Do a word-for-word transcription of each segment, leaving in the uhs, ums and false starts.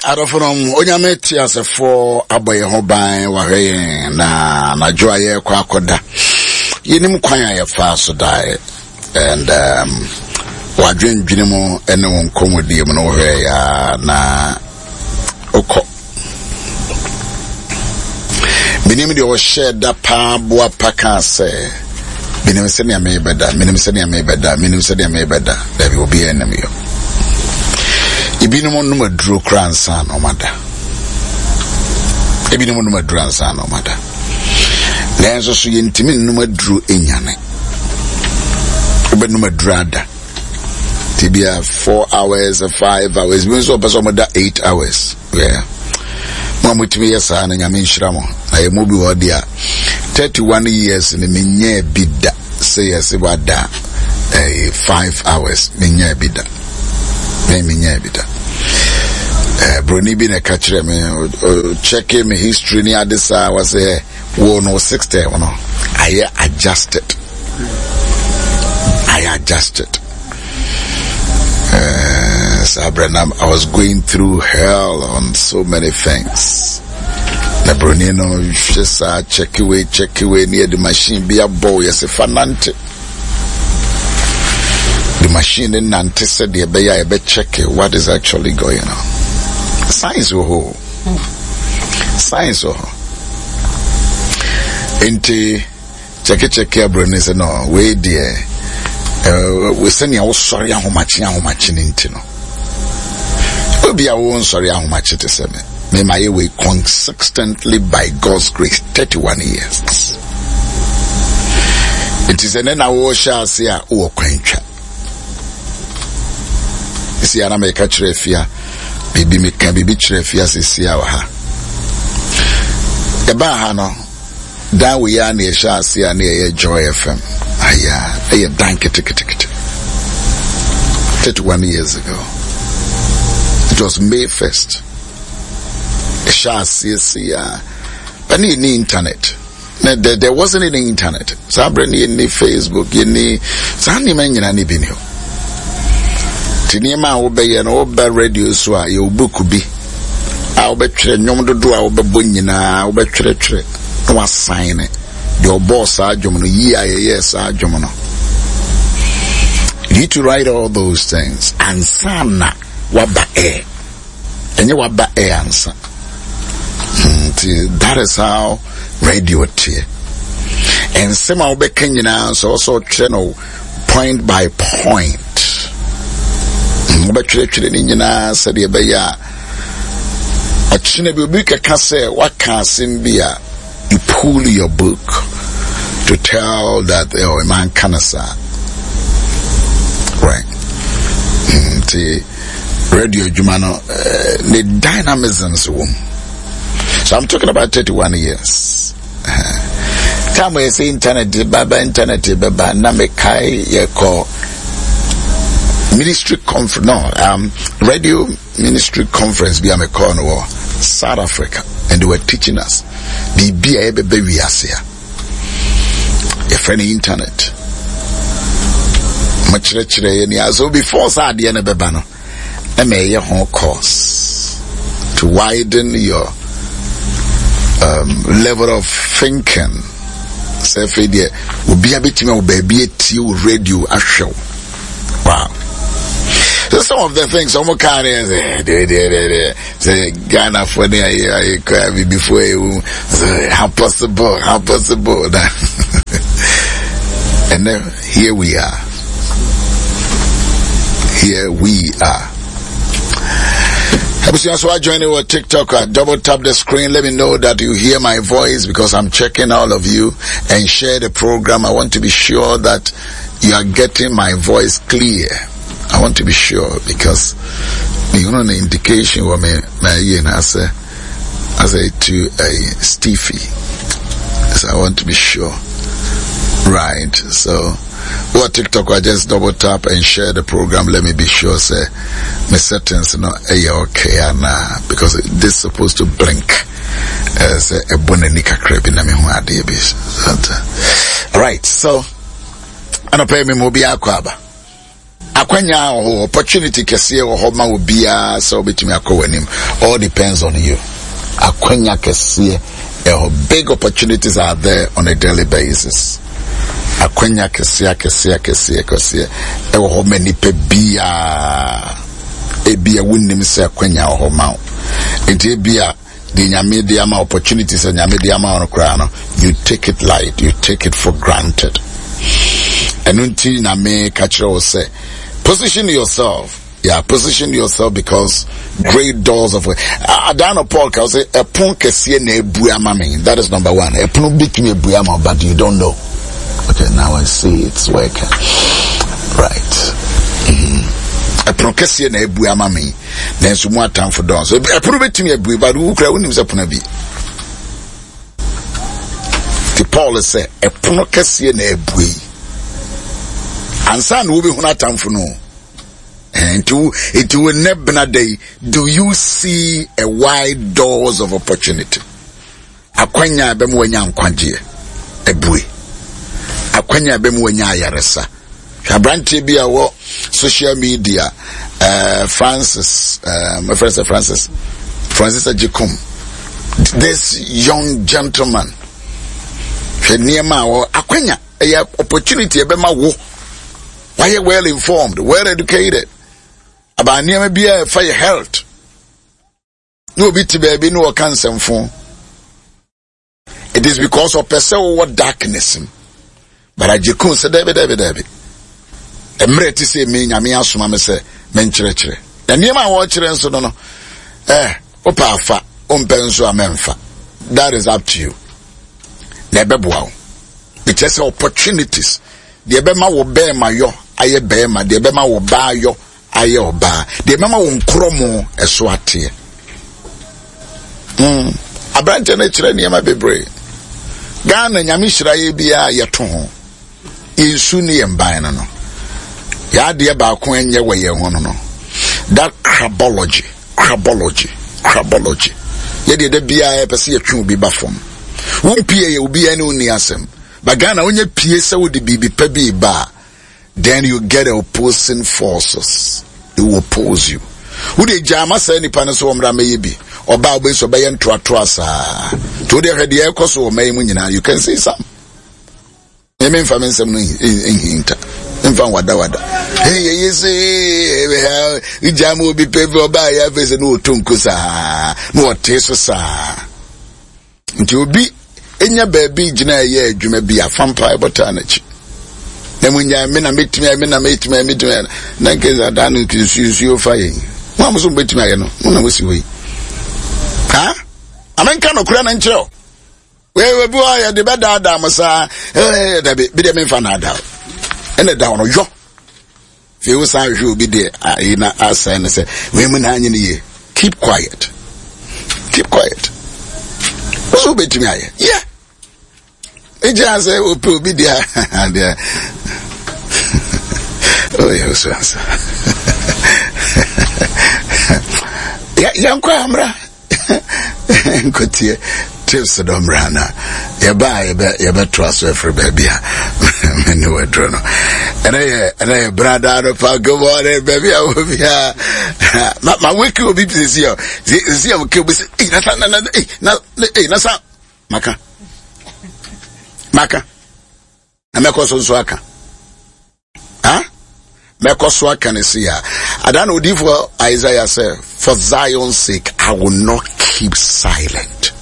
Adɔfo nom, Onyame te asefoɔ abɔ yɛn ho ban, wahwɛ yɛn na anadwo a yɛrekɔ akɔda. Yɛnim kwan a yɛfaa so daeɛ. And um, wadwendwene mu ne wo nkɔmmɔdie mu no wohwɛ yɛ na wokɔ. Menim deɛ ɔhyɛɛ da paa boa pa kaa sɛ, menim sɛnea merebɛda, menim sɛnea merebɛda, menim sɛnea merebɛda. Dabi, obiara nim yɔ. Ebinom nom aduro koraa ansa na ɔmada. Ebinom nom aduro ansa na ɔmada. Nanso so yɛntumi nnom aduro nyane. Wobɛnom aduro ada. Nti bia four hours, five hours, bi nso ɔpɛ sɛ ɔmoda eight hours. Yeah. Mo a motumi yɛ saa no, Nyame nhyira mo. Na yɛ mu bi wɔ deɛ a thirty-one years no menyɛɛ bi da sɛ yɛsɛ wada eh, five hours, menyɛɛ bi da. Me menyɛɛ bi da. Eh, broni bi na ɛka kyerɛ me, check me history ne ade saa, wɔsɛ wo no system no ayɛ adjusted. Ayɛ adjusted. Uh, so I was going through hell on so many things. Na broni no hwɛ saa, check away, check away, near the machine bi abɔ yɛsɛ fa nante. The machine ne nante sɛdeɛ ɛbɛyɛ a yɛbɛcheck what is actually going on. Science wɔ hɔ. Science wɔ hɔ. Nti kyɛkekyɛke aburoni sɛ no wei deɛ ɛɛ sɛnea wosɔre ahomakye ahomakye ne nti no, obi a wo nsɔre ahomakye te sɛ me me ma yɛ wei consistently by God's grace thirty-one years. Nti sɛ ne na wɔhyɛ ase a, wowɔ kwan twa si a na meka kyerɛ Afia biribi, meka biribi kyerɛ Afia sisi a wɔ ha. Yɛbaa ha no, dan wei a na yɛhyɛ ase a na yɛyɛ Joy F M aya, ɛyɛ dan ketekete. thirty-one years ago, it was May first ɛhyɛ aseɛ si a, but ne yɛni internet na there, there wasn't any internet saa berɛ no. Yɛnni Facebook, yɛnni saa nneɛma nyinaa ne bi ni hɔ. Nti nneɛma a wobɛyɛ no, woba radio so a, yɛwɔ book bi a wobɛtwerɛ nnwom dodoɔ a wobɛbɔ nyinaa, wobɛtwerɛtwerɛ na wasan ne deɛ ɔbɔɔ saa dwom no yie a yɛyɛɛ saa dwom no. You need to write all those things ansa na waba air. Ɛnyɛ waba air ansa. Nti that is how radio teɛ. Nsɛm a wobɛka nyinaa nso, ɔsɛ ɔtwerɛ no point by point. Wobɛtwerɛtwerɛ ne nyinaa sɛdeɛ ɛbɛyɛ a ɔkyena bi obi kɛka sɛ waka asɛm bi a, you pull your book to tell that, oh, man ka saa, right? Nti radio adwuma no, uh, ne dynamisms wɔ mu. So I'm talking about thirty-one years uh, time yɛ sɛ internet baba, internet bɛba na mekae yɛkɔ ministry conference, no, um, radio ministry conference bi a mekɔɔ no wɔ South Africa, and they were teaching us biribi a yɛbɛbɛ wiase a yɛfrɛ no internet. Makyerɛkyerɛ yɛ nea so before saa adeɛ no bɛba no, ɛma ɛyɛ ho course to widen your um, level of thinking sɛ afei deɛ obia bɛtumi a wɔ baabi atie wo radio ahwɛ wo. Wow. So some of the things ɔmo kaa ne sɛ deɛ deɛ deɛ deɛ sɛ Ghanafoɔ ne ayɛ ayɛ kɔ abibifoɔ ɛwu sɛ how possible, how possible na, and then here we are, here we are. Abusua, so I join you on TikTok. Uh, double tap the screen. Let me know that you hear my voice because I'm checking all of you, and share the program. I want to be sure that you are getting my voice clear. I want to be sure because you know the indication what me my you know as a as a to a Stevie. So I want to be sure. Right. So what TikTok, I just double tap and share the program. Let me be sure sɛ my settings no ɛyɛ okay ana, because this supposed to blink. Sɛ ɛbɔ n'ani kakra bi na me ho adeɛ bi. Right. So anɔpɛ mi mo obi akɔ aba. Akwanya wɔ hɔ, opportunity kɛseɛ wɔ hɔ ma obiara sɛ wobɛtumi akɔ w'anim. All depends on you. Akwanya kɛseɛ ɛhɔ, big opportunities are there on a daily basis. Akwanya kɛseɛ kɛseɛ kɛseɛ kɛseɛ ɛwɔ hɔ ma nipa biara. Ebia wonnim sɛ akwanya wɔ hɔ ma wo, nti ebia deɛ Nyame de ama, opportunity sɛ Nyame de ama wo no koraa no, you take it light, you take it for granted. Ɛno nti na me ka kyerɛ wo sɛ position yourself. Yeah, position yourself, because great doors of Adano Paul ka sɛ ɛpon kɛseɛ na ebu ama me. That is number one. Ɛpono bi tumi ebu ama, but you don't know. Okay, now I see it's working. Right. Ɛpono kɛseɛ na ebu ama me, nanso mu atamfo dɔɔso. Ɛpono bɛtumi abue, but wokura wonim sɛ pono bi ti. Paul sɛ ɛpono kɛseɛ na abue ansa na wobɛhunu atamfo no. Nti wo nti wo nnɛ bena da yi, do you see a wide doors of opportunity? Akwanya a ɛbɛma wanya nkwagyeɛ abue, akwanya a ɛbɛma wanya ayaresa. Hwɛ aberanteɛ bi a wɔ social media, uh, Francis, uh, my friend sɛ Francis Francis Ajikum. This young gentleman, hwɛ nneɛma a wɔ akwanya, ɛyɛ opportunity ɛbɛma wo wayɛ well informed, well educated about nneɛma bi a ɛfa yɛ health, na obi te baabi na ɔka nsɛmfo. It is because ɔpɛ sɛ wowɔ darkness mu. But Agyekun sɛ dɛbi, dɛbi, dɛbi, mmerɛ ti sɛ me Nyame asoma me sɛ menkyerɛkyerɛ, na nneɛma a wɔrekyerɛ nso no no eh wopɛ afa, wompɛ nso a mɛmfa. That is up to you. Na ɛbɛboa wo. Ɛkyerɛ sɛ opportunities deɛ ɛbɛma wo bɛrima yɔ ayɛ bɛrima, deɛ ɛbɛma wo baa yɔ ayɛ ɔbaa, deɛ ɛbɛma wo nkorɔmo ɛso ateɛ. mm. Aberanteɛ no kyerɛ nneɛma bebree. Ghana, Nyame hyira yɛ biara, yɛto ho yɛnsu ne yɛn ban no no yɛadeɛ baako ɛnyɛ wɔ yɛn ho no no that crabology, crabology, crabology. Yɛdeɛ da biara yɛpɛ sɛ yɛtwe obi ba fam. Wompie yɛ obiara ne wonni asɛm, but Ghana wonyɛ pie sɛ wode biribi pa bi ba a, then you get opposing forces. They will oppose you. Wode gyaa saa nipa no sɛ wɔmmra mɛyɛ bi, ɔbaa wobɛyi sɛ ɔbɛyɛ ntoatoa saa. Nti wode hwɛ deɛ ɛkɔ so wɔ mma yi mu nyinaa, you can see some. Ɛmɛ mfa me nsɛm no nhinta, mfa nwadawada. Yɛyɛ sɛ gyaa ma obi pɛ bi, ɔbaa yɛ afei sɛ ne ɔtɔ nko saa na ɔte so saa. Nti obi enya baabi gyina ɛyɛ adwuma bi a, fa mpa ɛbɔtaa n'akyi na mu nya me na metumi ayɛ, me na metumi ayɛ, metumi ayɛ. Na nkesa da no nsuo nsuo fa yɛn mo a mo so mobɛtumi ayɛ no, mo na mo si hɔ yi ha. Amenka nokora no nkyerɛ o. Wei bi hɔ yɛde bɛdaadaa mo saa. Ɛɛ dabi bi deɛ, memfa naadaa o. Ɛna da hɔ no yɔ fei wo san hwɛ obi deɛ ayi na asɛn no sɛ wei mu na anyi no yie. Keep quiet, keep quiet. Wo so wobɛtumi ayɛ yɛ ɛgyina sɛ wopɛ obi deɛ deɛ ɔyɛ so ansa. Yɛnkɔ amra nkotie tips dɔ mmra na yɛbaa yɛbɛtoa so afiri baabi a mene waduro no. ɛnɛ yɛ ɛnɛ yɛ brada no pa. Good morning, baabi a wɔ biaa. Ma ma weki obi sisi a sisi a woke obi sɛ ei na sa na na ei na ei na sa maka maka na mɛkɔ so nso aka ha, mɛkɔ so aka ne se ya ada na odiifoɔ Isaiah sɛ, "For Zion's sake, I will not keep silent."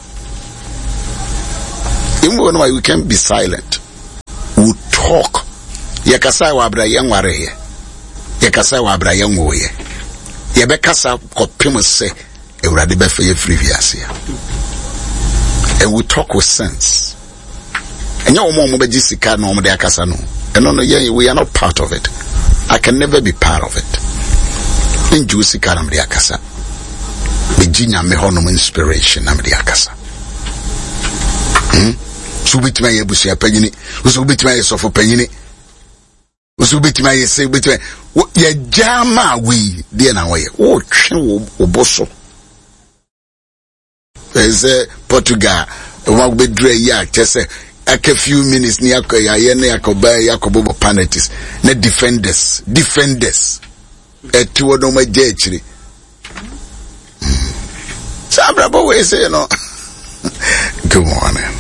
Even when we can be silent, we talk. Yɛkasa wɔ abira yɛn nwareyɛ, yɛkasa wɔ abira yɛn nwoyɛ, yɛbɛkasa kɔpem sɛ Awurade bɛfɛ yɛ firi wiase a. And we talk with sense. Ɛnyɛ wɔn a wɔbɛgye sika na wɔn de akasa no. Ɛno no yɛn, we are not part of it. I can never be part of it. Ngye wo sika na mede akasa. Megye Nyame hɔnom inspiration na mede akasa. hmm? So wobɛtumi ayɛ abusua panyini, so wobɛtumi ayɛ sɔfo panyini, so wobɛtumi ayɛ sɛ wobɛtumi yɛgya ma wei deɛ na wɔyɛ wotwe wo bo so. Ɛsɛ Portugal wɔn bɛduru ayi a kyɛ sɛ Aka few minutes ne akɔ yɛayɛ ne akɔba yɛakɔbɔbɔ penalties na defenders defenders ɛte hɔ na wɔn agya akyire saa abrabɔ wei sei no. Good morning.